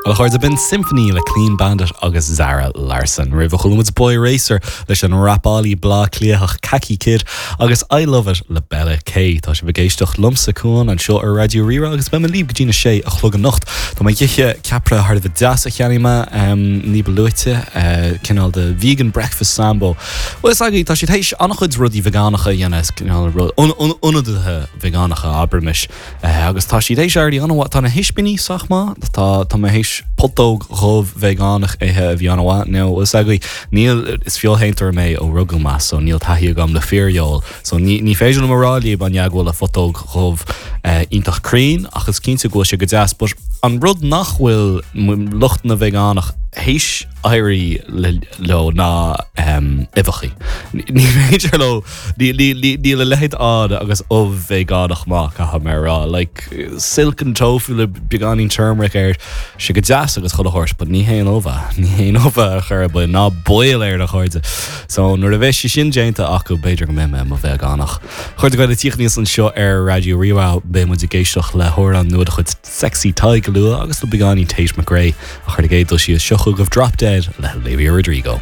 Bhuel, a chairde, b'in Symphony le Clean Bandit agus Zara Larsson. Roimhe chuala muid Boy Racer leis an rapálaí Bleá Cliathach Khaki Kid agus I Love It le Bella K. Tá sibh ag éisteacht liomsa, Cuán, anseo ar Raidió Rí-Rá agus beidh mé libh go dtí na sé a chlog anocht. Tá mé ag ithe ceapaire thar a bheith deas a cheannaigh mé ní ba luaite, cineál de vegan breakfast sambo. Bhuel, is agaibh, tá siad théis an-chuid rudaí veigeánacha a dhéanamh, cineál ionadaithe veigeánacha, abraimis. Agus tá siad théis éirí an-mhaith. Tá na hispíní sách maith. Tá, tá mé théis putóg dhubh veigeánach a ithe a bhí an-mhaith. Now, is agaibh, níl, is feoilshéantóir mé ó rugadh mé, so níl taithí agam le fíorfheoil. So ní, ní féidir liom a rá libh an ea go bhfuil a phutóg dhubh iontach cruinn, ach is cinnte go bhfuil sé go deas. But an rud nach bhfuil lucht na veigeánach théis éirí leo ná uibheachaí. Ní féidir leo Níl a leithéid ann agus ubh veigeánach maith, caithfidh mé a rá. Like, silken tofu le beagáinín turmeric air, sé go deas agus chuile shórt, but ní haon ubh é. Ní haon ubh é ar chor ar bith, ná baol air, a chairde. So, nuair a bheidh sé sin déanta acu, b'fhéidir go mbeidh mé i mo veigeánach. A chairde Gael ag tíocht aníos anseo ar Raidió Rí-Rá, beidh muid ag éisteacht le hamhrán nua de chuid Sexy Tadhg go luath agus le beagáinín Tate McRae. Ach ar an gcéad dul síos, seo chugaibh Drop Dead le Olivia Rodrigo.